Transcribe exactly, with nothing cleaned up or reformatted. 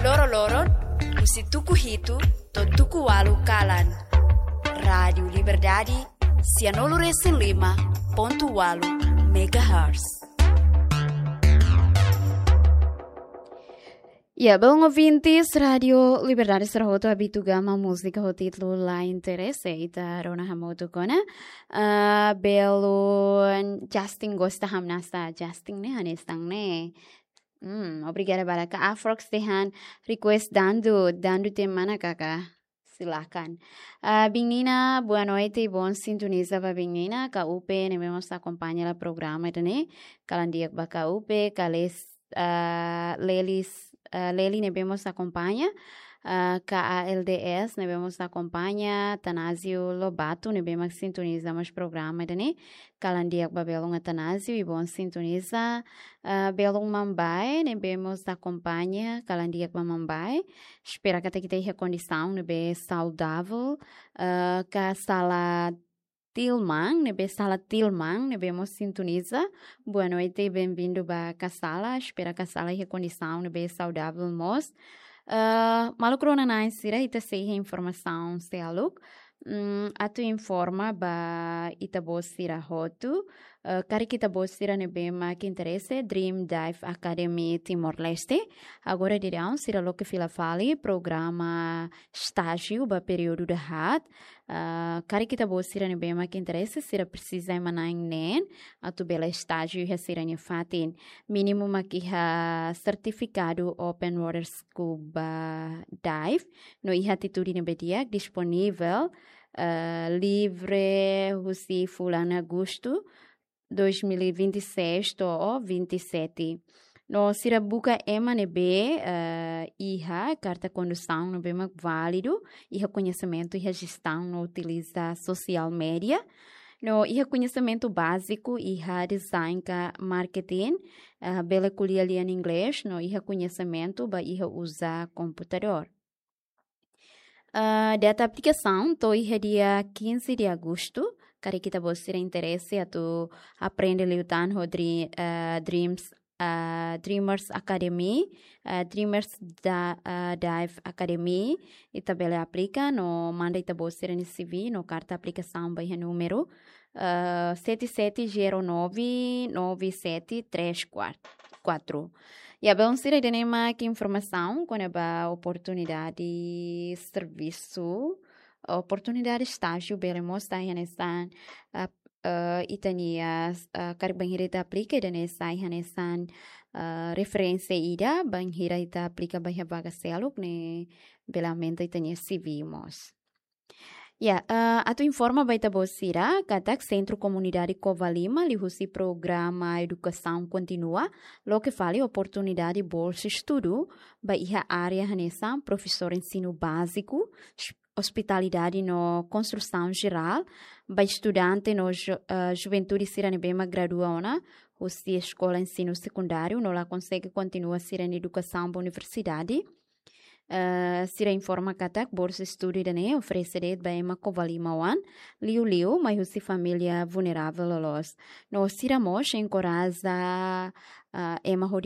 Loroloron, husi tuku hitu to'o tuku ualu kalan. Rádiu Liberdade, sianulu resin lima pontu ualu megahertz. Ya, belun ouvintes, Rádiu Liberdade sira hotu habitua ba múzika ho títulu La Interese, ita rona hamutuk ona. Ah, belun Justin gosta hamnasa, Justin ne'e hanesan ne'e. Hmm, obrigada barak. Afrox dehan request dandu, dandu te mana kaka? Silakan. Ah, Biin Nina, boa noite, bom sintoniza ba Biin Nina, K U P, ne'ebé mós akompaña hela programa ida-ne'e, kalan di'ak ba K U P, Kales, ah, Lelis, ah, Leli ne'ebé mós akompaña, ah, K A L D S ne'ebé mós akompaña, Tanásio Lobato ne'ebé mak sintoniza mós programa ida-ne'e, kalan di'ak ba belun Atanásio, i bom sintoniza, ah, belun Mambae ne'ebé mós akompaña, kalan di'ak ba Mambae. Espera katak ita iha kondisaun ne'ebé saudável, ah, Kasala Tilman, ne'ebé Sala Tilman, ne'ebé mós sintoniza. Boa noite, bem-vindo ba Kasala. Espera Kasala iha kondisaun ne'ebé saudável mós. Ah, maluk rona-na'in sira, ita sei iha informasaun seluk. Hmm, atu informa ba ita-boot sira hotu. Ah, karik ita-boot sira ne'ebé mak interese, Dream Dive Academy Timor-Leste. Agora daudaun sira loke fila fali programa estájiu ba períodu dahaat. Ah, karik ita-boot sira ne'ebé mak interese, sira presiza ema na'in neen atu bele estájiu iha sira-nia fatin. Mínimu mak iha sertifikadu open water scuba dive no iha atitude ne'ebé di'ak, disponivel, ah, livre husi fulan Agostu dois mil e vinte e seis to'o vinte e sete. No sira buka ema ne'ebé, eh, iha karta kondusaun ne'ebé mak válidu, iha koñesimentu iha jestaun no utiliza social media, no iha koñesimentu báziku iha design ka marketing, eh, bele ko'alia lian inglés, no iha koñesimentu ba iha uza komputadór. Ah, data aplikasaun to'o iha dia quinze de agosto. Karik ita-boot sira interese atu aprende liután ho Dre-, ah, Dreams, ah, Dreamers Academy, ah, Dreamers da, ah, Dive Academy, ita bele aplika no manda ita-boot sira-nia C V no karta aplikasaun ba iha númeru, ah, sete sete zero nove nove sete três quatro. Ya, belun sira, ida-ne'e mak informasaun kona-ba oportunidade servisu, oportunidade estájiu bele mós sai hanesan, ah, eh, ita-nia, eh, karik bainhira ita aplika, ida-ne'e sai hanesan, eh, referénsia ida, bainhira ita aplika ba iha vaga seluk ne'e bele aumenta ita-nia C V mós. Ya, eh, atu informa ba ita-boot sira, katak Sentru Komunidade Covalima, liuhusi programa edukasaun kontínua, loke fali oportunidade bolsa estudu ba iha área hanesan profesór ensinu báziku, s-, ospitalidade no konstrusaun jerál, ba estudante no ju-, eh, juventude sira ne'ebé mak gradua ona husi eskola ensinu sekundáriu no la konsege kontinua sira-nia edukasaun ba universidade. Eh, sira informa katak bolsa estudu ida-ne'e oferese de'it ba ema Covalima oan, liuliu mai husi família vulneravel loloos. No sira mós enkoraja, ah, ema ho